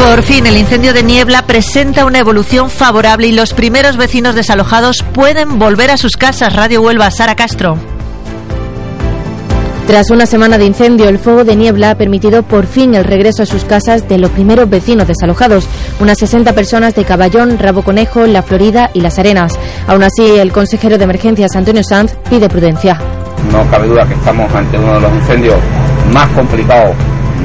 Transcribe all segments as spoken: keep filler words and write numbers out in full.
Por fin, el incendio de Niebla presenta una evolución favorable y los primeros vecinos desalojados pueden volver a sus casas. Radio Huelva, Sara Castro. Tras una semana de incendio, el fuego de Niebla ha permitido por fin el regreso a sus casas de los primeros vecinos desalojados, unas sesenta personas de Caballón, Rabo Conejo, La Florida y Las Arenas. Aún así, el consejero de Emergencias, Antonio Sanz, pide prudencia. No cabe duda que estamos ante uno de los incendios más complicados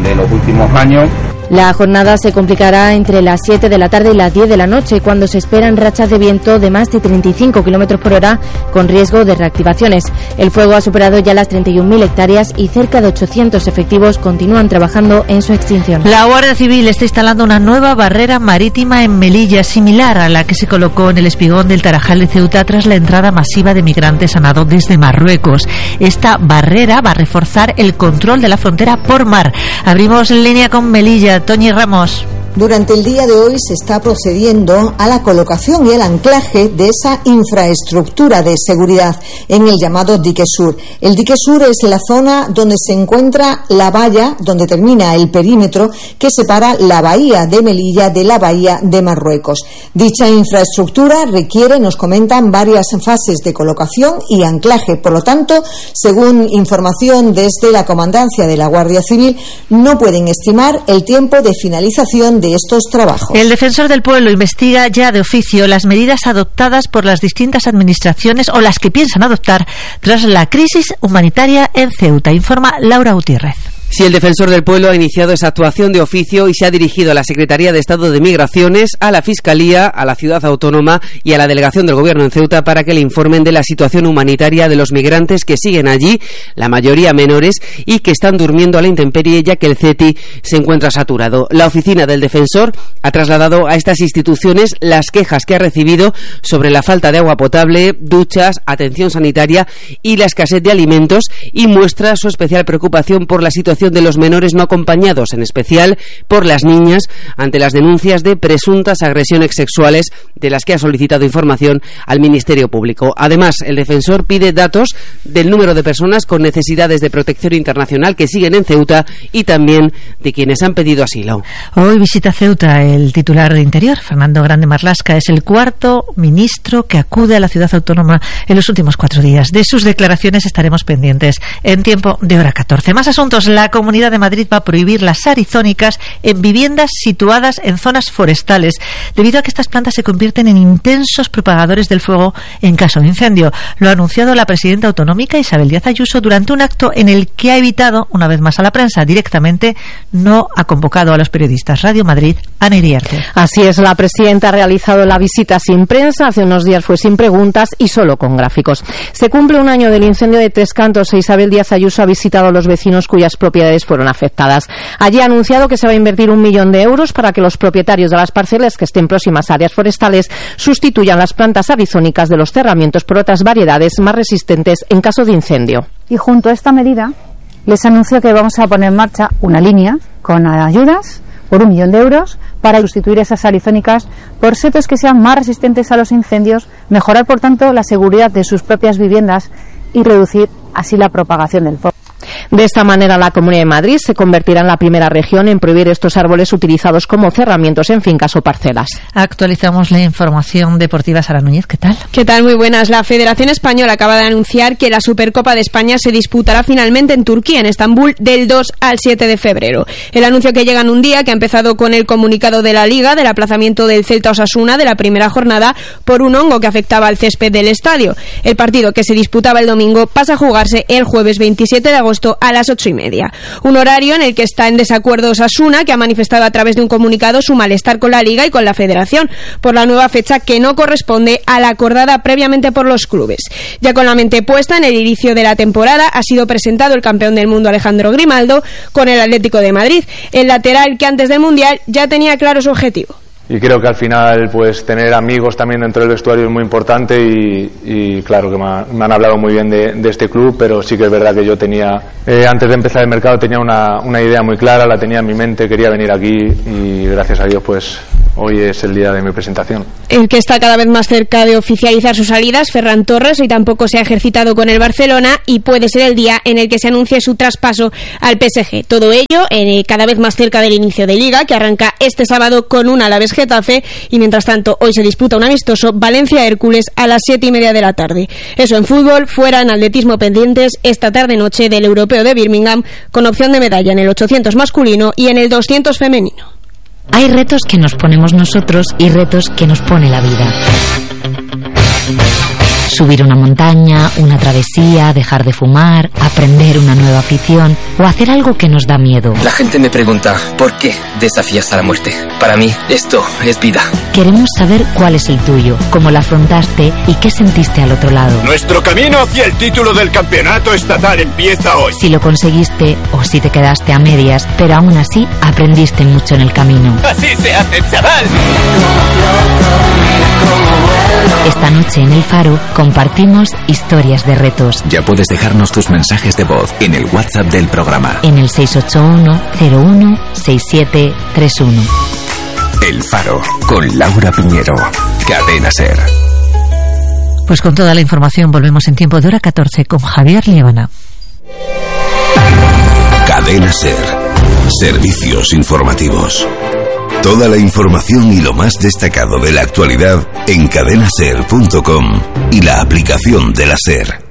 de los últimos años. La jornada se complicará entre las siete de la tarde y las diez de la noche, cuando se esperan rachas de viento de más de treinta y cinco kilómetros por hora, con riesgo de reactivaciones. El fuego ha superado ya las treinta y un mil hectáreas y cerca de ochocientos efectivos continúan trabajando en su extinción. La Guardia Civil está instalando una nueva barrera marítima en Melilla, similar a la que se colocó en el espigón del Tarajal de Ceuta tras la entrada masiva de migrantes a nado desde Marruecos. Esta barrera va a reforzar el control de la frontera por mar. Abrimos en línea con Melilla. Toñi Ramos. Durante el día de hoy se está procediendo a la colocación y el anclaje de esa infraestructura de seguridad en el llamado dique sur. El dique sur es la zona donde se encuentra la valla, donde termina el perímetro que separa la bahía de Melilla de la bahía de Marruecos. Dicha infraestructura requiere, nos comentan, varias fases de colocación y anclaje. Por lo tanto, según información desde la Comandancia de la Guardia Civil, no pueden estimar el tiempo de finalización de estos trabajos. El Defensor del Pueblo investiga ya de oficio las medidas adoptadas por las distintas administraciones o las que piensan adoptar tras la crisis humanitaria en Ceuta. Informa Laura Gutiérrez. Sí, el Defensor del Pueblo ha iniciado esa actuación de oficio y se ha dirigido a la Secretaría de Estado de Migraciones, a la Fiscalía, a la Ciudad Autónoma y a la Delegación del Gobierno en Ceuta para que le informen de la situación humanitaria de los migrantes que siguen allí, la mayoría menores, y que están durmiendo a la intemperie ya que el C E T I se encuentra saturado. La oficina del Defensor ha trasladado a estas instituciones las quejas que ha recibido sobre la falta de agua potable, duchas, atención sanitaria y la escasez de alimentos, y muestra su especial preocupación por la situación de los menores no acompañados, en especial por las niñas, ante las denuncias de presuntas agresiones sexuales de las que ha solicitado información al Ministerio Público. Además, el defensor pide datos del número de personas con necesidades de protección internacional que siguen en Ceuta y también de quienes han pedido asilo. Hoy visita Ceuta el titular de Interior, Fernando Grande Marlasca. Es el cuarto ministro que acude a la ciudad autónoma en los últimos cuatro días. De sus declaraciones estaremos pendientes en tiempo de hora catorce. Más asuntos. La Comunidad de Madrid va a prohibir las arizónicas en viviendas situadas en zonas forestales, debido a que estas plantas se convierten en intensos propagadores del fuego en caso de incendio. Lo ha anunciado la presidenta autonómica Isabel Díaz Ayuso durante un acto en el que ha evitado, una vez más a la prensa, directamente no ha convocado a los periodistas. Radio Madrid, Ana Iriarte. Así es, la presidenta ha realizado la visita sin prensa, hace unos días fue sin preguntas y solo con gráficos. Se cumple un año del incendio de Tres Cantos e Isabel Díaz Ayuso ha visitado a los vecinos cuyas propiedades fueron afectadas. Allí ha anunciado que se va a invertir un millón de euros para que los propietarios de las parcelas que estén próximas a áreas forestales sustituyan las plantas arizónicas de los cerramientos por otras variedades más resistentes en caso de incendio. Y junto a esta medida les anuncio que vamos a poner en marcha una línea con ayudas por un millón de euros para sustituir esas arizónicas por setos que sean más resistentes a los incendios, mejorar por tanto la seguridad de sus propias viviendas y reducir así la propagación del fuego. De esta manera, la Comunidad de Madrid se convertirá en la primera región en prohibir estos árboles utilizados como cerramientos en fincas o parcelas. Actualizamos la información deportiva. Sara Núñez, ¿qué tal? ¿Qué tal? Muy buenas. La Federación Española acaba de anunciar que la Supercopa de España se disputará finalmente en Turquía, en Estambul, del dos al siete de febrero. El anuncio que llega en un día que ha empezado con el comunicado de la Liga del aplazamiento del Celta Osasuna de la primera jornada por un hongo que afectaba al césped del estadio. El partido, que se disputaba el domingo, pasa a jugarse el jueves veintisiete de agosto a las ocho y media. Un horario en el que está en desacuerdo Osasuna, que ha manifestado a través de un comunicado su malestar con la Liga y con la Federación por la nueva fecha que no corresponde a la acordada previamente por los clubes. Ya con la mente puesta en el inicio de la temporada, ha sido presentado el campeón del mundo Alejandro Grimaldo con el Atlético de Madrid, el lateral que antes del Mundial ya tenía claro su objetivo. Y creo que al final pues tener amigos también dentro del vestuario es muy importante y, y claro que me, ha, me han hablado muy bien de, de este club, pero sí que es verdad que yo tenía, eh, antes de empezar el mercado tenía una, una idea muy clara, la tenía en mi mente, quería venir aquí y gracias a Dios pues hoy es el día de mi presentación. El que está cada vez más cerca de oficializar sus salidas, Ferran Torres, hoy tampoco se ha ejercitado con el Barcelona y puede ser el día en el que se anuncie su traspaso al P S G. Todo ello eh, cada vez más cerca del inicio de Liga, que arranca este sábado con un Alavés Getafe, y mientras tanto hoy se disputa un amistoso Valencia-Hércules a las siete y media de la tarde. Eso en fútbol. Fuera, en atletismo, pendientes esta tarde-noche del Europeo de Birmingham, con opción de medalla en el ochocientos masculino y en el doscientos femenino. Hay retos que nos ponemos nosotros y retos que nos pone la vida. Subir una montaña, una travesía, dejar de fumar, aprender una nueva afición o hacer algo que nos da miedo. La gente me pregunta, ¿por qué desafías a la muerte? Para mí, esto es vida. Queremos saber cuál es el tuyo, cómo la afrontaste y qué sentiste al otro lado. Nuestro camino hacia el título del campeonato estatal empieza hoy. Si lo conseguiste o si te quedaste a medias, pero aún así aprendiste mucho en el camino. Así se hace, chaval. Esta noche en El Faro compartimos historias de retos. Ya puedes dejarnos tus mensajes de voz en el WhatsApp del programa. En el seis ocho uno cero uno seis siete tres uno. El Faro, con Laura Piñero. Cadena SER. Pues con toda la información volvemos en tiempo de hora catorce con Javier Liébana. Cadena SER. Servicios informativos. Toda la información y lo más destacado de la actualidad en cadena ser punto com y la aplicación de la SER.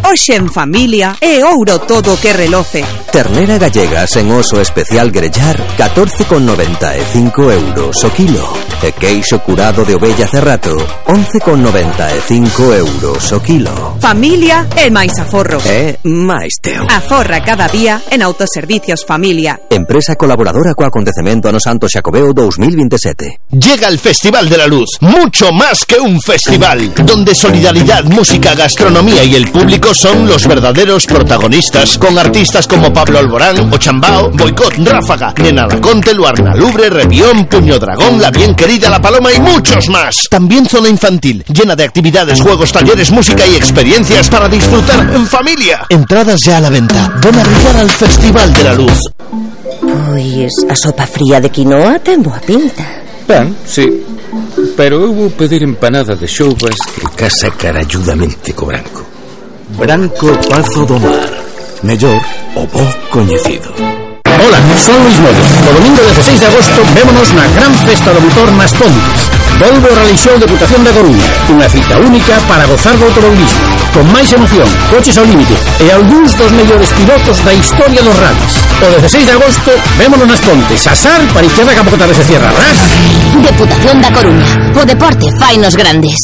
Hoxe en familia é ouro todo que reloce. Ternera gallega sen oso especial grellar, catorce con noventa e cinco euros o kilo. E queixo curado de ovella cerrato, once con noventa e cinco euros o kilo. Familia é máis aforro. É máis teo. Aforra cada día en Autoservicios Familia. Empresa colaboradora co acontecemento Ano Santo Xacobeo dos mil veintisiete. Llega el Festival de la Luz, mucho más que un festival, donde solidaridad, música, gastronomía y el público son los verdaderos protagonistas, con artistas como Pablo Alborán, Ochambao, Boicot, Ráfaga, Nena Laconte, Luarna Lubre, Revión, Puño Dragón, La Bien Querida, La Paloma y muchos más. También zona infantil, llena de actividades, juegos, talleres, música y experiencias para disfrutar en familia. Entradas ya a la venta. Ven a brillar al Festival de la Luz. Pois a sopa fría de quinoa ten boa pinta. Ben, sí, pero eu vou pedir empanada de xoubas que casa caralludamente co branco. Branco Pazo do Mar, mellor o bo coñecido. Hola, son Luis Moyo. O domingo dezasseis de agosto vémonos na gran festa do motor nas Pontes. Volvo o Rally Show Deputación da Coruña, unha cita única para gozar do automobilismo, con máis emoción, coches ao límite e algúns dos mellores pilotos da historia dos rallies. O dezasseis de agosto vémonos nas Pontes, asar para izquierda que a pouco tarde se cierra, ras? Deputación da Coruña, o deporte fainos grandes.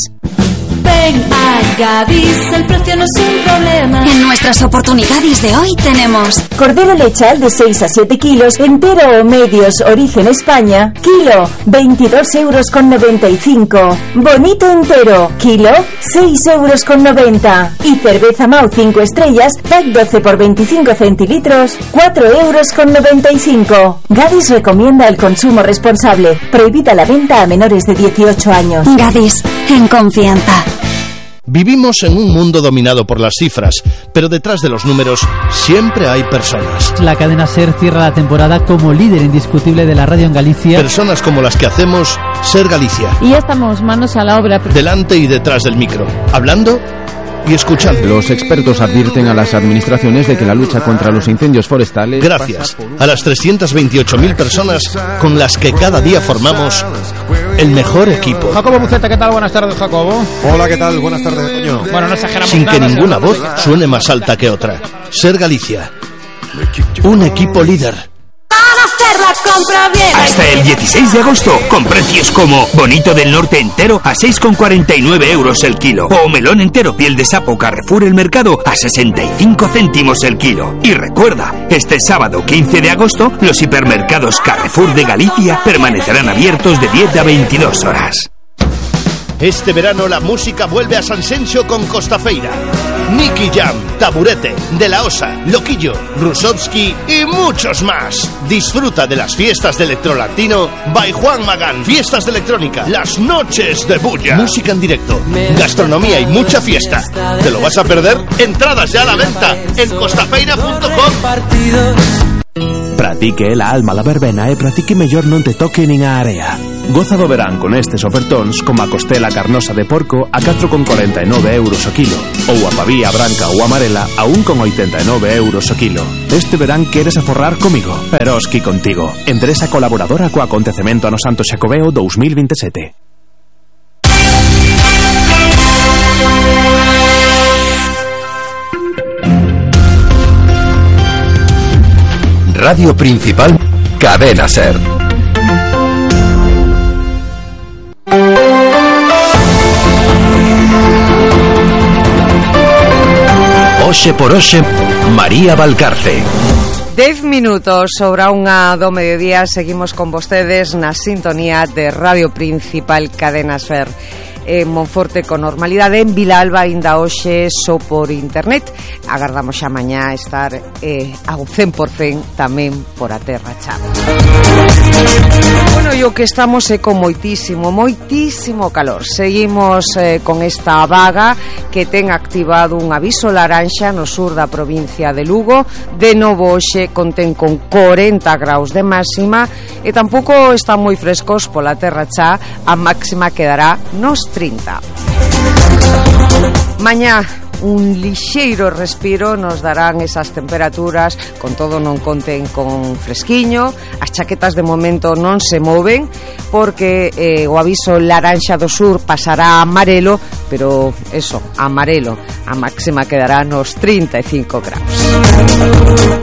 Ven a Gadis, el precio no es un problema. En nuestras oportunidades de hoy tenemos cordero lechal de seis a siete kilos, entero o medios, origen España, kilo, veintidós euros con noventa y cinco. Bonito entero, kilo, seis euros con noventa. Y cerveza Mau cinco estrellas, pack doce por veinticinco centilitros, cuatro euros con noventa y cinco. Gadis recomienda el consumo responsable. Prohibida la venta a menores de dieciocho años. Gadis, en confianza. Vivimos en un mundo dominado por las cifras, pero detrás de los números siempre hay personas. La cadena SER cierra la temporada como líder indiscutible de la radio en Galicia. Personas como las que hacemos SER Galicia. Y ya estamos manos a la obra. Delante y detrás del micro, hablando y escuchando. Los expertos advierten a las administraciones de que la lucha contra los incendios forestales... Gracias a las trescientas veintiocho mil personas con las que cada día formamos el mejor equipo. Jacobo Buceta, ¿qué tal? Buenas tardes, Jacobo. Hola, ¿qué tal? Buenas tardes, Toño. Bueno, no exageramos Sin nada, que ninguna voz nada. suene más alta que otra. SER Galicia. Un equipo líder. La compra bien. Hasta el dieciséis de agosto, con precios como bonito del norte entero a seis con cuarenta y nueve euros el kilo, o melón entero piel de sapo Carrefour El Mercado a sesenta y cinco céntimos el kilo. Y recuerda, este sábado quince de agosto, los hipermercados Carrefour de Galicia permanecerán abiertos de diez a veintidós horas. Este verano la música vuelve a Sanxenxo con Costafeira. Nicky Jam, Taburete, De La Osa, Loquillo, Rusovsky y muchos más. Disfruta de las fiestas de electrolatino by Juan Magán. Fiestas de electrónica, las noches de bulla. Música en directo, gastronomía y mucha fiesta. ¿Te lo vas a perder? Entradas ya a la venta en costafeira punto com. Pratique la alma la verbena e pratique mellor non te toque nin a area. Goza do verán con estes ofertóns como a costela carnosa de porco a catro con corenta e nove euros o kilo ou a pavía branca ou amarela a un con oitenta e nove euros o kilo. Este verán queres aforrar comigo, Eroski contigo. Empresa colaboradora co acontecemento ano Santo Xacobeo dous mil vinte e sete. Radio Principal, Cadena Ser. Oxe por oxe, María Valcarce. Dez minutos sobre a unha do mediodía. Seguimos con vostedes na sintonía de Radio Principal, Cadena Ser. En Monforte con normalidade, en Vilalba ainda hoxe só por internet. Agardamos xa mañá estar eh, ao cen por cen tamén por a terra xa. Bueno, e o que estamos é con moitísimo, moitísimo calor. Seguimos eh, con esta vaga que ten activado un aviso laranxa no sur da provincia de Lugo. De novo hoxe contén con corenta graus de máxima e tampouco están moi frescos pola terra xa. A máxima quedará nos trinta. Mañá un lixeiro respiro nos darán esas temperaturas, con todo non conten con fresquiño. As chaquetas de momento non se moven porque eh, o aviso laranxa do sur pasará a amarelo, pero eso, amarelo, a máxima quedará nos trinta e cinco graus.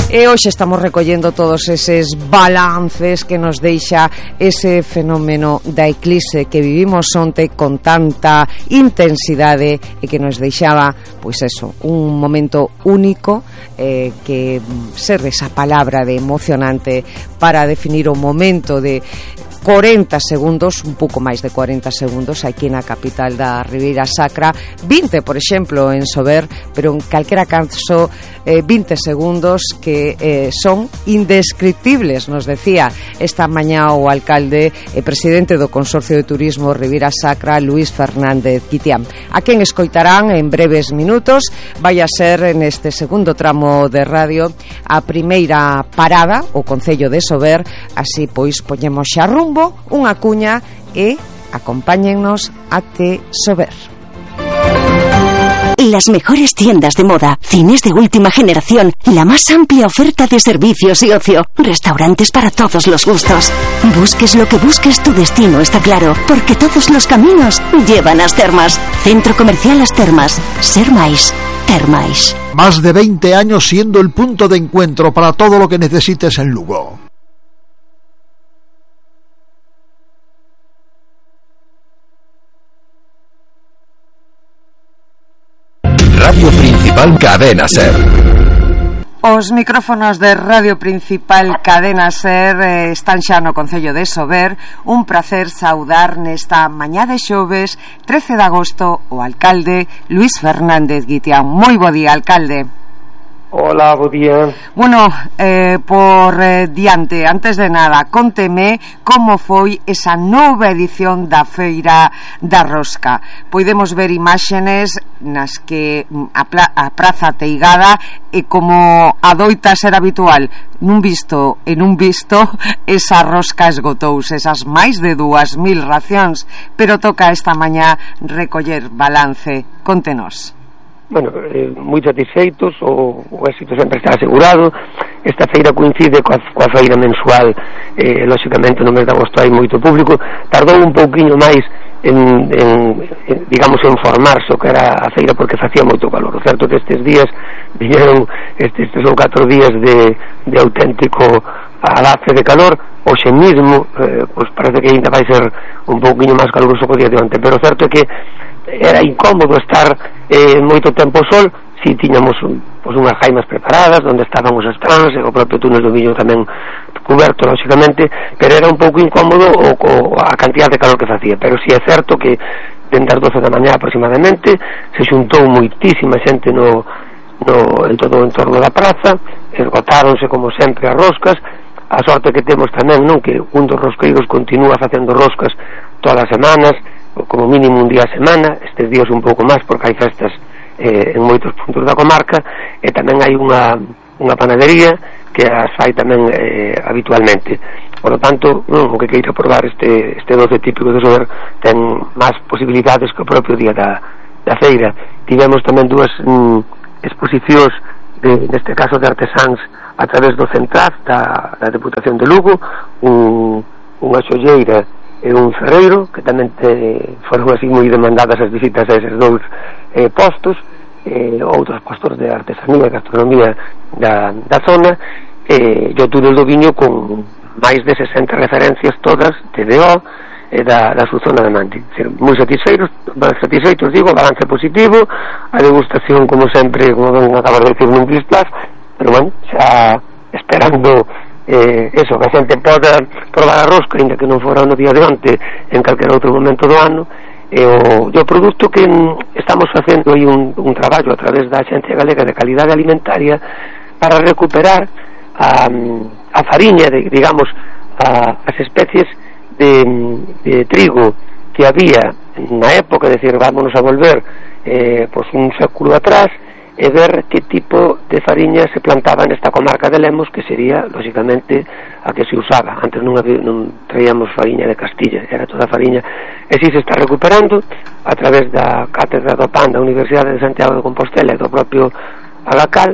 E hoxe estamos recollendo todos eses balances que nos deixa ese fenómeno da eclipse que vivimos onte con tanta intensidade e que nos deixaba, pois eso, un momento único eh, que serve esa palabra de emocionante para definir o momento de corenta segundos, un pouco máis de corenta segundos aquí na capital da Ribeira Sacra, vinte, por exemplo, en Sober, pero en calquera caso eh, vinte segundos que eh, son indescriptibles, nos decía esta mañá o alcalde e presidente do Consorcio de Turismo Ribeira Sacra, Luís Fernández Guitián, a quen escoitarán en breves minutos. Vai a ser neste segundo tramo de radio a primeira parada, o Concello de Sober. Así pois poñemos xa rumbo unha cuña e acompáñennos até Sober. Las mejores tiendas de moda, cines de última generación, la más amplia oferta de servicios y ocio, restaurantes para todos los gustos. Busques lo que busques, tu destino está claro, porque todos los caminos llevan a As Termas. Centro Comercial As Termas. Ser máis, ter máis. Más de veinte años siendo el punto de encuentro para todo lo que necesites en Lugo. Radio Principal, Cadena Ser. Os micrófonos de Radio Principal, Cadena Ser eh, están xa no Concello de Sober. Un placer saudar nesta mañá de xoves trece de agosto o alcalde Luís Fernández Guitián. Moi bo día, alcalde. Hola, bo día. Bueno, eh, por eh, diante, antes de nada, conteme como foi esa nova edición da Feira da Rosca. Podemos ver imágenes nas que a, pla- a praza teigada e como adoita ser habitual, nun visto e nun visto, esa rosca esgotouse, esas máis de dúas mil racións, pero toca esta mañá recoller balance. Contenos. Bueno, eh, moi satisfeitos, o, o éxito sempre está asegurado. Esta feira coincide coa, coa feira mensual, eh, lóxicamente no mes de agosto hai moito público. Tardou un pouquiño máis en, en, en digamos, en formarse o que era a feira porque facía moito calor. O certo que estes días viñeron estes, estes ou catro días de, de auténtico alace de calor. Hoxe mismo, eh, pois parece que ainda vai ser un pouquiño máis caluroso que o día de onte, pero o certo é que era incómodo estar eh, moito tempo ao sol. Si tiñamos un, pues, unhas jaimas preparadas onde estaban os stands e o propio túnel do Viño tamén cuberto, lóxicamente, pero era un pouco incómodo o, o, a cantidad de calor que facía. Pero si é certo que dende as doce da mañá aproximadamente se xuntou moitísima xente no, no, en todo o entorno da praza, esgotáronse como sempre as roscas. A sorte que temos tamén, non, que un dos rosqueiros continúa facendo roscas todas as semanas, como mínimo un día a semana, estes días un pouco máis porque hai festas eh, en moitos puntos da comarca, e tamén hai unha, unha panadería que as fai tamén eh, habitualmente. por lo tanto, non, o que queira probar este, este doce típico de Sober ten máis posibilidades que o propio día da, da feira. Tivemos tamén dúas mm, exposicións de, neste caso de artesáns a través do Centraz da, da Deputación de Lugo, un, unha xolleira e un ferreiro que tamén te, foron así moi demandadas as visitas a eses dous eh, postos, eh, outros postos de artesanía e gastronomía da, da zona, e eh, o túnel do viño con máis de sesenta referencias todas de D O e da, da súa zona de Mandi. Moi satisfeitos, satisfeitos digo, balance positivo, a degustación como sempre, como ven acabar de decir nun Gris Plus, pero bueno, xa esperando eh, eso, que a xente poda probar a rosca, ainda que non fora no día de onte, en calquer outro momento do ano. E o, e o produto que mm, estamos facendo aí un, un traballo a través da Axencia Galega de Calidade Alimentaria para recuperar a, a fariña, de, digamos, a, as especies de, de trigo que había na época, é dicir, vámonos a volver eh, pues un século atrás e ver que tipo de fariña se plantaba nesta comarca de Lemos, que sería, lógicamente, a que se usaba. Antes non, había, non traíamos fariña de Castilla, era toda fariña, e si se está recuperando a través da Cátedra do Pan da Universidade de Santiago de Compostela e do propio Agacal,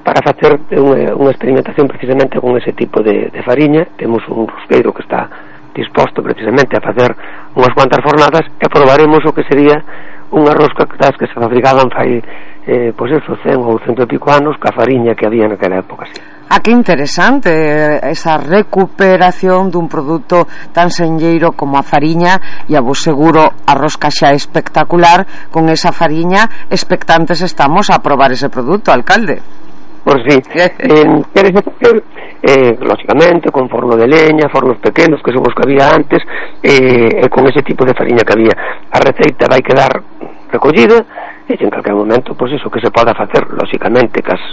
para facer unha, unha experimentación precisamente con ese tipo de, de fariña. Temos un rosqueiro que está disposto precisamente a facer unhas cuantas fornadas e probaremos o que sería unha rosca das que se fabricaban fai eh, pois eso, cen ou cento e pico anos ca fariña que había naquela época, sí. Ah, que interesante esa recuperación dun produto tan senlleiro como a fariña, e a vos seguro a rosca xa é espectacular. Con esa fariña expectantes estamos a probar ese produto, alcalde. Por si, eh, queres facer, eh, lógicamente, con forno de leña, fornos pequenos, que se vos que había antes, eh, e con ese tipo de fariña que había. A receita vai quedar recollida, e en calquer momento, pois iso, que se poda facer, lógicamente, cas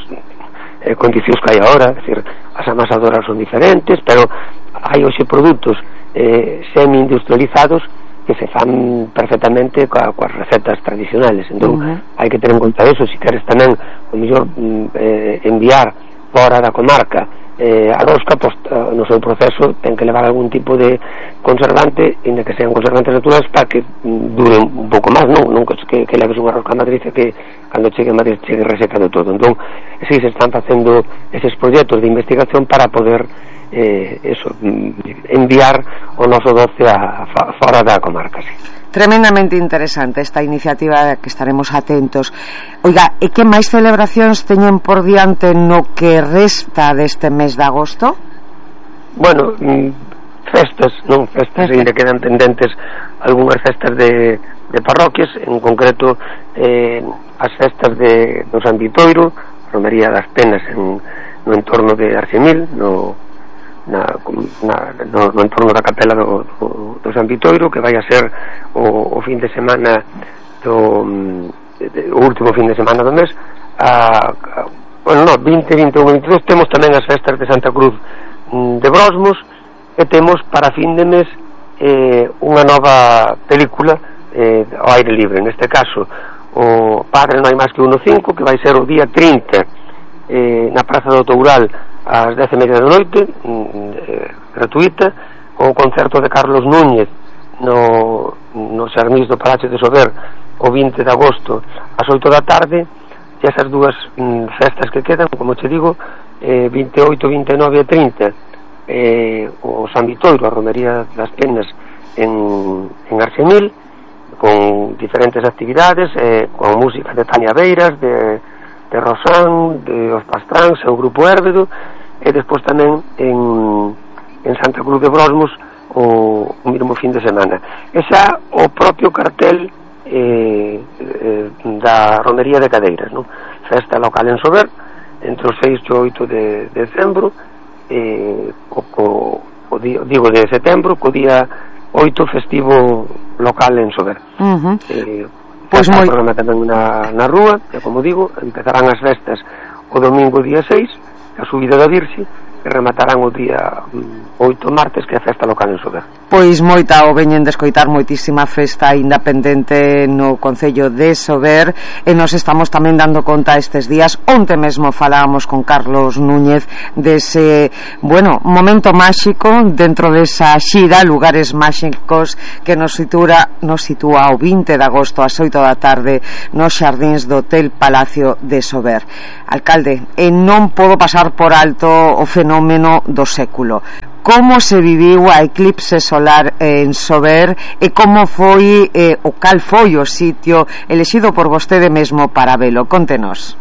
eh, condicións que hai agora, é dicir, as amasadoras son diferentes, pero hai hoxe produtos eh, semi-industrializados que se fan perfectamente coa, coas recetas tradicionales. Entón, uh-huh. hai que ter en conta eso. Se queres tamén, o mellor, eh, enviar fora da comarca eh, a rosca, pois, no seu proceso ten que levar algún tipo de conservante, inda que sean conservantes naturales, para que dure un pouco máis, non? Non que, que leves unha rosca a Madrid e que cando chegue a Madrid chegue reseca de todo. Entón, si se están facendo eses proxectos de investigación para poder eh, eso, enviar o noso doce a, a fora da comarca, sí. Tremendamente interesante esta iniciativa, que estaremos atentos. Oiga, e que máis celebracións teñen por diante no que resta deste mes de agosto? Bueno, festas, non festas, ainda quedan pendentes algunhas festas de, de parroquias, en concreto eh, as festas de, do San Vitoiro, Romería das Penas en, no entorno de Arxemil, no Na, na, no, no entorno da capela do, do, do San Vitoiro, que vai a ser o, o fin de semana do, de, de, o último fin de semana do mes. A, a, bueno, no, vinte, vinte e un, vinte e dous temos tamén as festas de Santa Cruz de Brosmos, e temos para fin de mes eh, unha nova película eh, ao aire libre, neste caso o Padre non hai máis que uno cinco, que vai ser o día trinta eh, na Praza do Toural ás dez e media da noite, eh, gratuita, con o concerto de Carlos Núñez no, no Xarnís do Palacio de Sober o vinte de agosto ás oito da tarde. E esas dúas mm, festas que quedan, como te digo, eh, vinte e oito, vinte e nove e trinta, eh, o San Vitoiro, a Romería das Penas en, en Arxemil, con diferentes actividades, eh, con música de Tania Beiras, de de Rosán, de Os Pastráns, o Grupo Érbedo, e despois tamén en, en Santa Cruz de Brosmos o, o mesmo fin de semana. Esa o propio cartel eh, eh, da Romería de Cadeiras, non? Festa local en Sober, entre o seis e o oito de, de decembro, eh, o, o, o día, digo de setembro, co día oito festivo local en Sober. Uh-huh. eh, Pois pues moi... programa tamén na, na rúa, que como digo, empezarán as festas o domingo día seis, a subida da Virxe, e rematarán o día oito martes, que é a festa local en Sober. Pois moita o veñen de escoitar, moitísima festa independente no Concello de Sober, e nos estamos tamén dando conta estes días. Onte mesmo falábamos con Carlos Núñez dese, bueno, momento máxico dentro desa xira Lugares Máxicos que nos sitúa, nos sitúa o vinte de agosto ás oito da tarde nos xardíns do Hotel Palacio de Sober. Alcalde, e non podo pasar por alto o fenómeno do século. Como se viviu a eclipse solar en Sober e como foi eh, o cal foi o sitio elexido por vostede mesmo para velo? Contenos.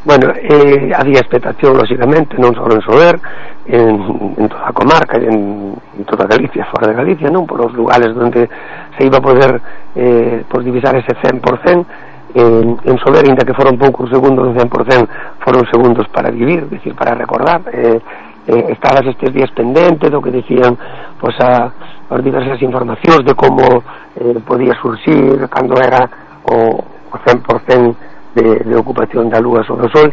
Bueno, eh, había expectación, lógicamente, non só en Sober, en, en toda a comarca, en, en toda Galicia, fora de Galicia, non? Por os lugares onde se iba a poder eh, pues, divisar ese cen por cen. En, en Sober, ainda que foron poucos segundos, cen por cen foron segundos para vivir, es decir, para recordar. Eh, eh, estabas estes días pendente do que decían pues, a, as diversas informacións de como eh, podía surxir cando era o, o cen por cen de, de ocupación da lúa sobre o sol.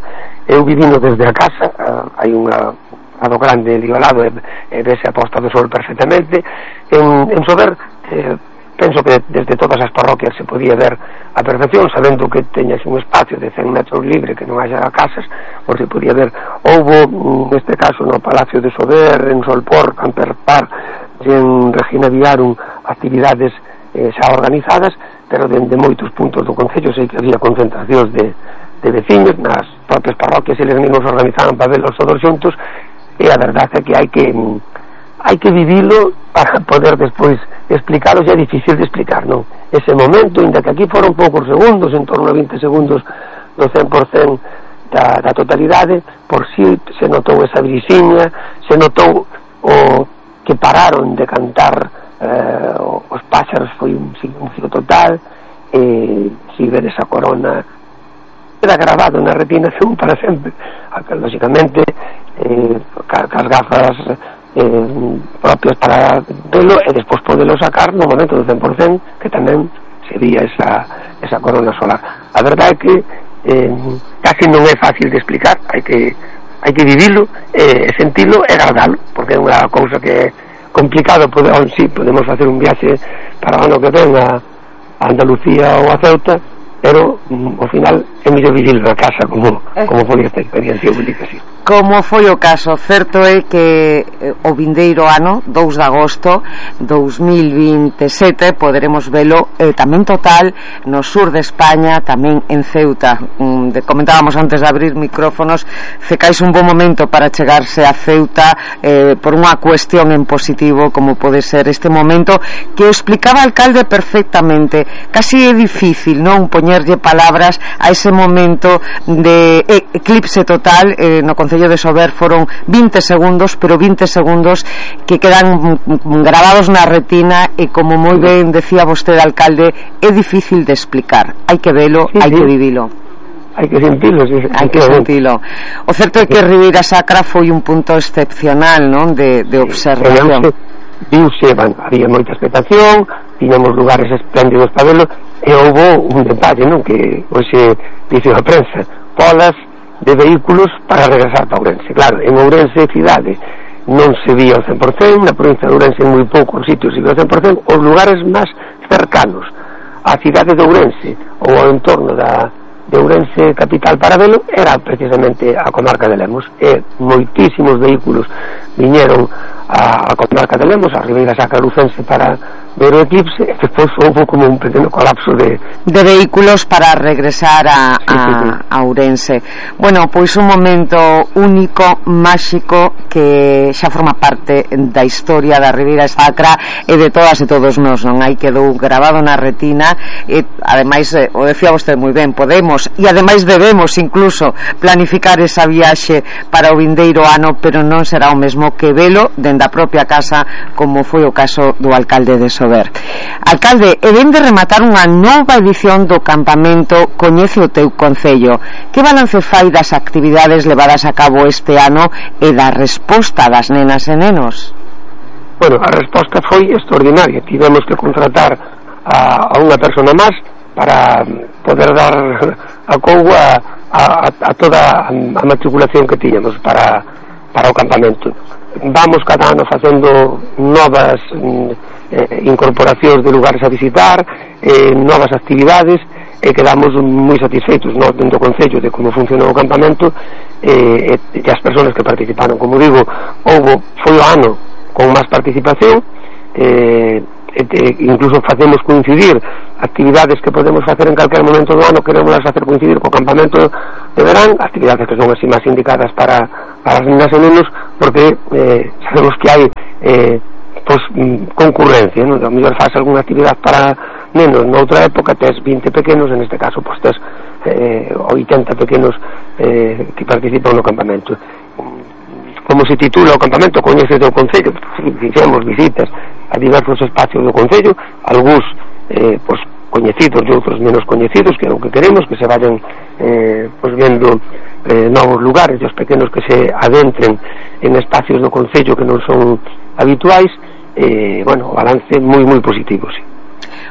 Eu vivino desde a casa, uh, hai unha lado grande ali ao lado e, e vese a posta do sol perfectamente. En, en Sober eh, penso que desde todas as parroquias se podía ver a perfección, sabendo que teñas un espacio de cen metros libre, que non haya casas, por se podía ver. Houbo, neste caso, no Palacio de Sober, en Solpor, Camper Park, en Regina Viarum, actividades eh, xa organizadas, pero dende moitos puntos do Concello sei que había concentracións de, de veciños, nas propias parroquias eles mesmos organizaban para verlos todos xuntos, e a verdade é que hai que hai que vivilo para poder despois explicarlo. É difícil de explicar, non? Ese momento, ainda que aquí foron poucos segundos, en torno a vinte segundos do cen por cen da, da totalidade, por si se notou esa brisiña, se notou o que pararon de cantar eh, os páxaros, foi un silencio total, e si ver esa corona queda grabado na retina para sempre. Lógicamente eh, cas gafas eh, propios para velo e despois podelo sacar no momento do cen por cen, que tamén sería esa, esa corona solar. A verdade é que eh, casi non é fácil de explicar, hai que hai que vivilo e eh, sentilo e gardalo, porque é unha cousa que é complicado. Podemos, sí, podemos facer un viaxe para o ano que ven a, a Andalucía ou a Ceuta, pero mm, ao final é mellor vivir na casa, como, como foi esta experiencia única, sí. Como foi o caso, certo é que eh, o vindeiro ano, dous de agosto dous mil vinte e sete, poderemos velo eh, tamén total no sur de España, tamén en Ceuta. Mm, de, comentábamos antes de abrir micrófonos, cecais un bom momento para chegarse a Ceuta eh, por unha cuestión en positivo, como pode ser este momento que o explicaba o alcalde perfectamente. Casi é difícil, non, poñerlle palabras a ese momento de eclipse total. eh, no Concello de Sober foron vinte segundos, pero vinte segundos que quedan grabados na retina, e como moi ben decía vostede, alcalde, é difícil de explicar. Hai que velo, sí, hai sí. que vivilo. Hai que sentilo, sí, hai que sentilo. O certo é que Ribeira Sacra foi un punto excepcional, non, de, de observación. Viuse, bueno, había moita expectación, tiñamos lugares espléndidos para velo, e houve un detalle, non, que hoxe dice a prensa, polas de vehículos para regresar para Ourense. Claro, en Ourense cidade non se vía o cen por cen, na provincia de Ourense en moi poucos sitios se vía o cen por cen. Os lugares máis cercanos á cidade de Ourense ou ao entorno da, de Ourense capital para velo era precisamente a comarca de Lemos, e moitísimos vehículos viñeron a, a comarca de Lemos, a Ribeira Sacra lucense, para ver o eclipse, e despois houve como un pequeno colapso de... de vehículos para regresar a, sí, sí, sí. a, a Ourense. Bueno, pois un momento único, máxico, que xa forma parte da historia da Ribeira Sacra e de todas e todos nós, non? Aí quedou grabado na retina, e ademais, eh, o decía vostede moi ben, podemos e ademais debemos incluso planificar esa viaxe para o vindeiro ano, pero non será o mesmo que velo dende a propia casa, como foi o caso do alcalde de Sober. Alcalde, e ven de rematar unha nova edición do campamento Coñece o teu concello. Que balance fai das actividades levadas a cabo este ano e da resposta das nenas e nenos? Bueno, a resposta foi extraordinaria. Tivemos que contratar a, a unha persona máis para poder dar a couga a, a, a toda a matriculación que tiñamos para, para o campamento. Vamos cada ano facendo novas eh, incorporacións de lugares a visitar, eh, novas actividades, e quedamos moi satisfeitos no, dentro do Concello de como funciona o campamento, eh, e, e as persoas que participaron. Como digo, houve, foi o ano con máis participación, eh, e, e, incluso facemos coincidir actividades que podemos facer en calquer momento do ano, queremos facer coincidir co campamento de verán, actividades que son así máis indicadas para, para as nenas e nenos, porque eh, sabemos que hai eh, pues, concurrencia, non? A mellor faz algunha actividade para nenos noutra época, tes vinte pequenos, en este caso pues, tes eh, oitenta pequenos eh, que participan no campamento. Como se titula o campamento, Coñece o Concello, fixemos visitas a diversos espacios do Concello, algúns eh, pues, coñecidos e outros menos coñecidos, que é o que queremos, que se vayan eh, pues, vendo eh, novos lugares, e os pequenos que se adentren en espacios do Concello que non son habituais. Eh, bueno, o balance moi moi positivo, sí.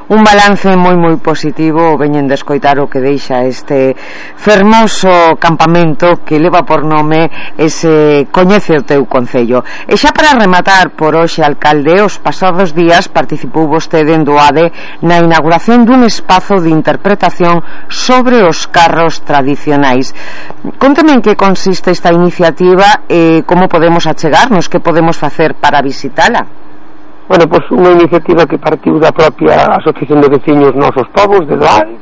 Un balance moi moi positivo, veñen de escoitar o que deixa este fermoso campamento que leva por nome ese Coñece o teu Concello. E xa para rematar por hoxe, alcalde, os pasados días participou vostede en Doade na inauguración dun espazo de interpretación sobre os carros tradicionais. Conteme en que consiste esta iniciativa e como podemos achegarnos, que podemos facer para visitala. Bueno, pois pues unha iniciativa que partiu da propia Asociación de Veciños Nosos Povos de Doade,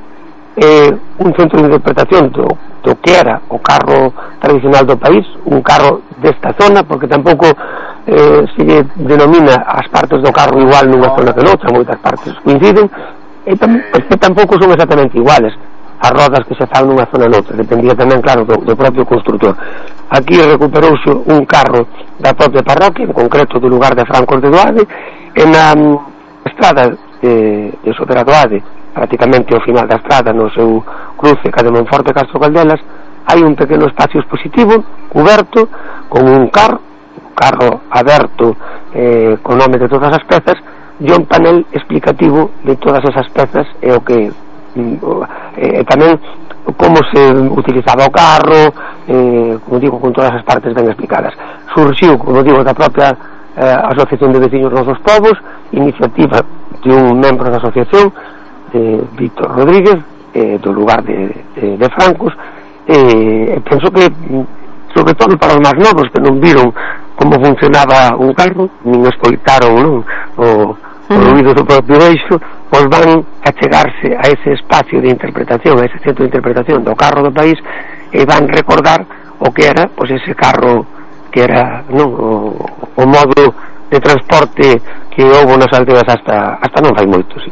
eh, un centro de interpretación do, do que era o carro tradicional do país, un carro desta zona, porque tampouco eh, se lle denomina as partes do carro igual nunha zona que noutra, moitas partes coinciden, e tam, que tampouco son exactamente iguales as rodas que se fan nunha zona noutra, dependía tamén, claro, do, do propio constructor. Aquí recuperouse un carro da propia parroquia, en concreto do lugar de Francos de Doade, e na um, estrada de, de Sotera-Doade, prácticamente ao final da estrada, no seu cruce ca de Monforte e Castro Caldelas, hai un pequeno espacio expositivo, cuberto, con un carro, un carro aberto, eh, con nome de todas as pezas, e un panel explicativo de todas esas pezas e o que e tamén como se utilizaba o carro, eh, como digo, con todas as partes ben explicadas. Surxiu, como digo, da propia eh, Asociación de Veciños Nosos Povos, iniciativa de un membro da asociación, eh, Víctor Rodríguez, eh, do lugar de, de, de Francos, e eh, penso que, sobre todo para os máis novos que non viron como funcionaba un carro, nin escoitaron, non, o o ruido do propio eixo, pois van a chegarse a ese espacio de interpretación, a ese centro de interpretación do carro do país, e van recordar o que era, pois ese carro que era, non, o, o modo de transporte que houve nas aldeas hasta, hasta non fai moito, sí.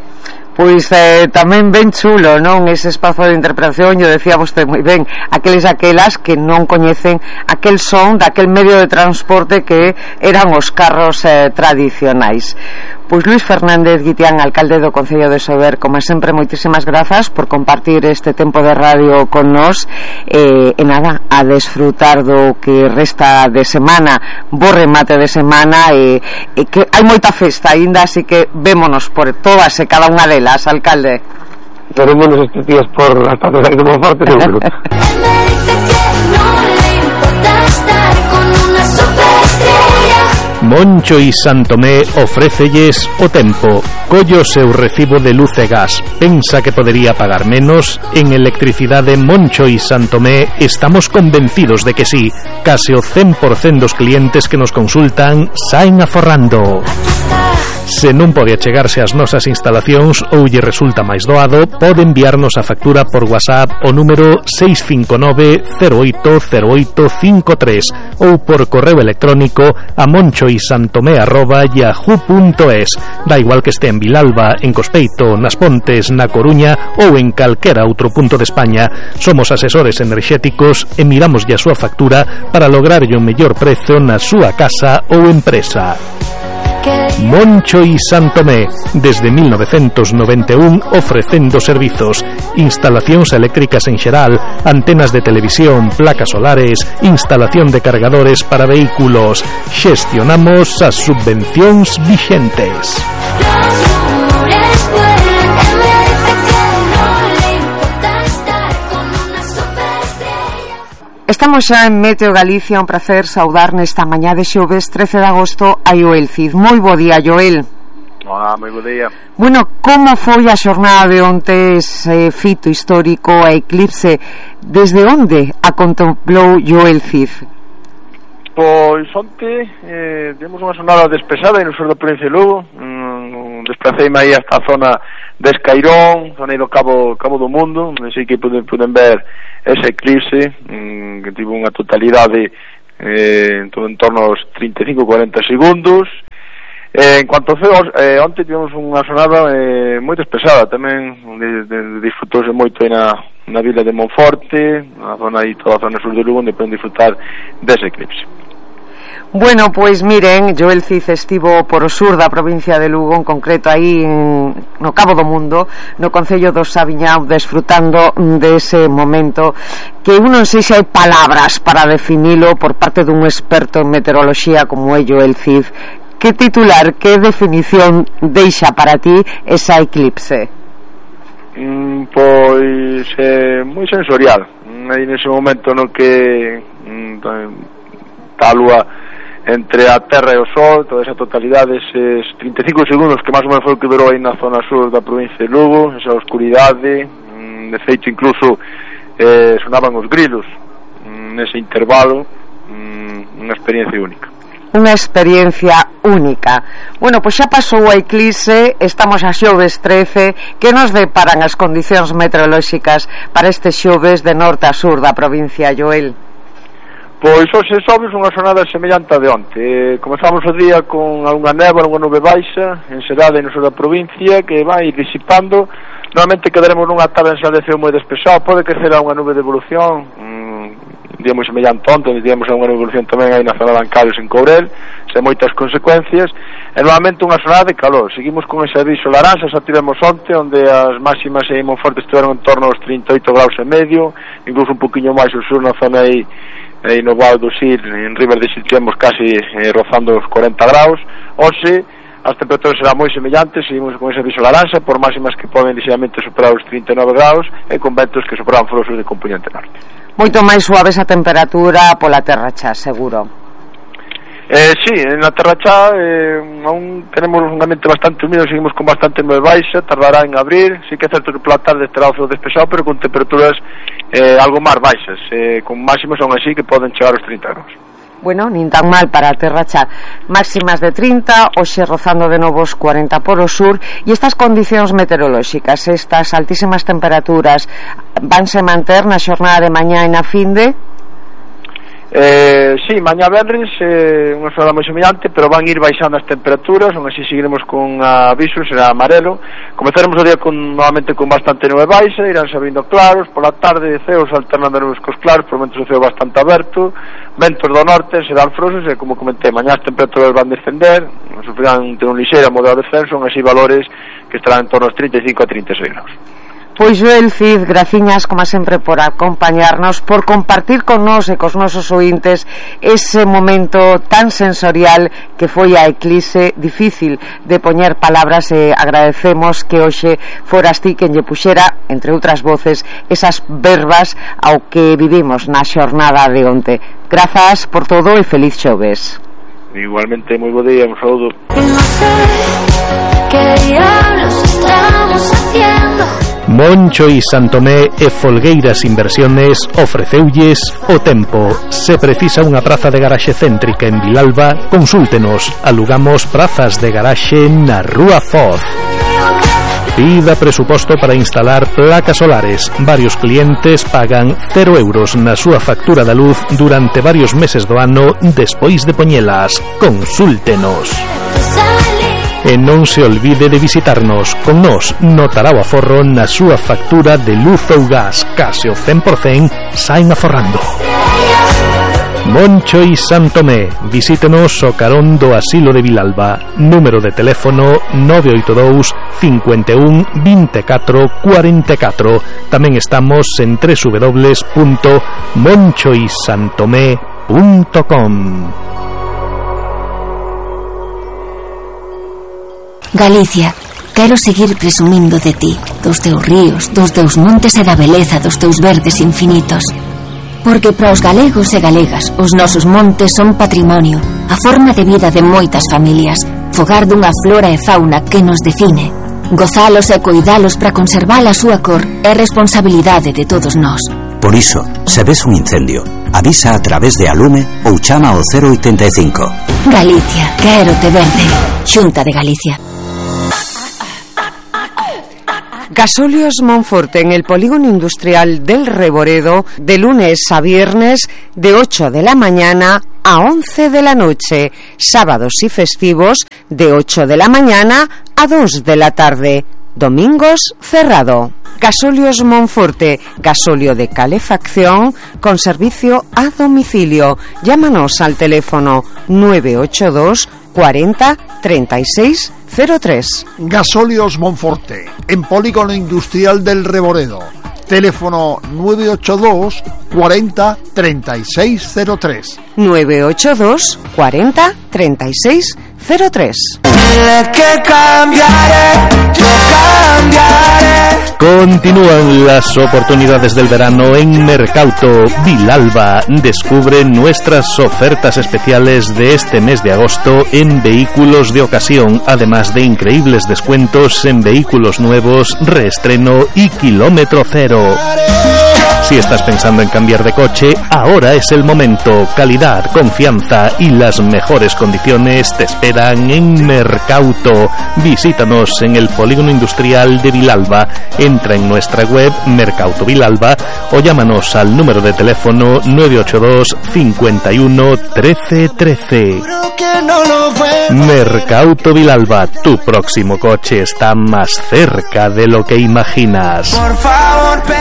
Pois eh, tamén ben chulo, non? Ese espazo de interpretación, yo decía vostede moi ben, aqueles aquelas que non coñecen aquel son daquel medio de transporte que eran os carros eh, tradicionais. Pois Luís Fernández Guitián, alcalde do Concello de Sober, como sempre, moitísimas grazas por compartir este tempo de radio con nós, eh, e nada, a desfrutar do que resta de semana, bo remate de semana, e, e que hai moita festa aínda, así que vémonos por todas e cada unha delas, alcalde. Verémonos estes días por as patas de Monforte, seguro. Moncho y Santomé ofrécelles o tempo. Collo seu recibo de luz e gas. Pensa que podería pagar menos? En Electricidade Moncho y Santomé estamos convencidos de que sí. Case o cen por cento dos clientes que nos consultan saen aforrando. Se non pode achegarse ás nosas instalacións ou lle resulta máis doado, pode enviarnos a factura por WhatsApp o número seis cinco nove cero oito cero oito cinco tres ou por correo electrónico a monchoisantomé arroba yahoo punto es. Da igual que este en Vilalba, en Cospeito, nas Pontes, na Coruña ou en calquera outro punto de España. Somos asesores enerxéticos e miramos a súa factura para lograr o mellor prezo na súa casa ou empresa. Moncho y Santomé, desde mil novecientos noventa e un ofrecendo servizos, instalacións eléctricas en xeral, antenas de televisión, placas solares, instalación de cargadores para vehículos. Xestionamos as subvencións vixentes. Estamos xa en Meteo Galicia, un placer saudar nesta mañá de xoves trece de agosto a Joel Cid. Moi bo día, Joel. Olá, moi bo día. Bueno, como foi a xornada de onte ese fito histórico a eclipse? Desde onde a contemplou Joel Cid? Pois onte eh, temos unha xornada despesada no sur da provincia de Lugo. mm, Desplaceime aí hasta a zona de Escairón, zona aí do Cabo, Cabo do Mundo, así que poden, poden ver ese eclipse mm, que tivo unha totalidade eh, en todo en torno aos trinta e cinco a cuarenta segundos. Eh, en cuanto ao ceo, eh, onte tivemos unha xornada eh, moi despesada tamén, de, de, de disfrutouse moito aí na, na vila de Monforte, na zona aí, toda a zona sur de Lugo, onde poden disfrutar dese eclipse. Bueno, pois miren, Joel Cid estivo por o sur da provincia de Lugo, en concreto aí en, no Cabo do Mundo, no concello do Sabiñao, desfrutando dese momento que eu non sei se hai palabras para definilo por parte dun experto en meteoroloxía como é Joel Cid. Que titular, que definición deixa para ti esa eclipse? Mm, pois é eh, moi sensorial. Aí nese momento no que mm, está a lúa entre a terra e o sol, toda esa totalidade, eses trinta e cinco segundos que máis ou menos foi o que durou aí na zona sur da provincia de Lugo, esa oscuridade, mm, de feito incluso eh, sonaban os grilos mm, nese intervalo, mm, unha experiencia única. Unha experiencia única. Bueno, pois xa pasou a eclipse, estamos a xoves trece. Que nos deparan as condicións meteorolóxicas para este xoves de norte a sur da provincia, Joel? Pois hoxe xoves unha xornada semellante a de onte. eh, Comezamos o día con algunha neva, algunha nube baixa en Serade e no sur da provincia, que vai disipando. Normalmente quedaremos nunha tarde en de ceo moi despexado. Pode crecer a unha nube de evolución, mm, un día moi semellante onte, onde tivemos unha evolución tamén aí na zona de Ancarios en Courel, sen moitas consecuencias, e normalmente unha xornada de calor. Seguimos con ese aviso laranxa, xa tivemos onte, onde as máximas en Monforte estiveron en torno aos trinta e oito graus e medio, incluso un poquinho máis ao sur na zona aí, aí no Val do Sil, en River de Sil tivemos casi eh, rozando os cuarenta graus. Hoxe as temperaturas serán moi semellantes, seguimos con ese aviso laranxa por máximas que poden ligeramente superar os trinta e nove graus e con ventos que superan frosos de componente norte. Moito máis suave esa temperatura pola terra xa, seguro. Eh, sí, en la terra xa eh, aún tenemos un ambiente bastante húmedo, seguimos con bastante nube baixa, tardará en abrir. Sí que é certo que pola tarde estará o ceo despexado, pero con temperaturas eh, algo máis baixas, eh, con máximos aún así que poden chegar aos trinta graus. Bueno, nin tan mal para a terra xa. Máximas de trinta, hoxe rozando de novos cuarenta por o sur. E estas condicións meteorolóxicas, estas altísimas temperaturas, vanse manter na xornada de mañá e na finde? Eh, sí, mañá venres eh, unha xornada moi semellante, pero van ir baixando as temperaturas, aún así seguiremos con aviso, será amarelo. Comezaremos o día con, novamente con bastante nube baixa, irán sabindo claros, pola tarde ceos alternando nubes cos claros, por momentos o ceo bastante aberto, ventos do norte, serán frosos, e como comentei, mañá as temperaturas van descender, sufrirán ter un lixeiro moderado descenso, así valores que estarán en torno aos trinta e cinco a trinta e seis graus. Pois Joel Cid, graciñas como sempre por acompañarnos, por compartir con nós e cos nosos ointes ese momento tan sensorial que foi a eclipse, difícil de poñer palabras, e agradecemos que hoxe foras ti quen lle puxera, entre outras voces, esas verbas ao que vivimos na xornada de onte. Grazas por todo e feliz xoves. Igualmente, moi bo día, un saúdo. ¿Qué diablos estamos haciendo? Moncho y Santomé e Folgueiras Inversiones ofreceulles o tempo. Se precisa unha praza de garaxe céntrica en Vilalba, consúltenos. Alugamos prazas de garaxe na Rúa Foz. Pida presuposto para instalar placas solares. Varios clientes pagan cero euros na súa factura da luz durante varios meses do ano despois de poñelas. Consúltenos. E non se olvide de visitarnos. Con nos notará o aforro na súa factura de luz ou gas. Case o cen por cen saen aforrando. Moncho y Santomé. Visítenos o carón do Asilo de Vilalba. Número de teléfono nove oito dous, cinco un, dos catro, cuatro catro. Tamén estamos en doble u doble u doble u punto moncho y santomé punto com. Galicia, quero seguir presumindo de ti, dos teus ríos, dos teus montes e da beleza dos teus verdes infinitos. Porque para os galegos e galegas, os nosos montes son patrimonio, a forma de vida de moitas familias, fogar dunha flora e fauna que nos define. Gozalos e coidalos para conservar a súa cor é responsabilidade de todos nós. Por iso, se ves un incendio, avisa a través de Alume ou chama ao cero oitenta e cinco. Galicia, quero te verde. Xunta de Galicia. Gasóleos Monforte en el polígono industrial del Reboredo, de lunes a viernes de ocho de la mañana a once de la noche, sábados y festivos de ocho de la mañana a dos de la tarde, domingos cerrado. Gasóleos Monforte, gasóleo de calefacción con servicio a domicilio. Llámanos al teléfono nueve ocho dos cuarenta treinta y seis cero tres. Gasóleos Monforte, en polígono industrial del Reboredo. Teléfono nueve ocho dos cuarenta treinta y seis cero tres. nueve ocho dos cuarenta treinta y seis cero tres. Que cambiaré, yo cambiaré. Continúan las oportunidades del verano en Mercauto Vilalba. Descubre nuestras ofertas especiales de este mes de agosto en vehículos de ocasión, además de increíbles descuentos en vehículos nuevos, reestreno y kilómetro cero. Si estás pensando en cambiar de coche, ahora es el momento. Calidad, confianza y las mejores condiciones te esperan en Mercauto. Visítanos en el polígono industrial de Vilalba. Entra en nuestra web Mercauto Vilalba o llámanos al número de teléfono nueve ocho dos cincuenta y uno trece trece. Mercauto Vilalba, tu próximo coche está más cerca de lo que imaginas.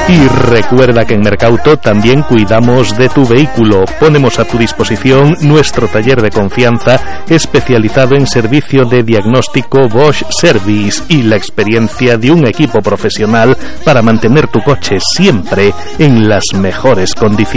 Y recuerda que en Mercauto también cuidamos de tu vehículo. Ponemos a tu disposición nuestro taller de confianza especializado en servicio de diagnóstico Bosch Service y la experiencia de un equipo profesional para mantener tu coche siempre en las mejores condiciones.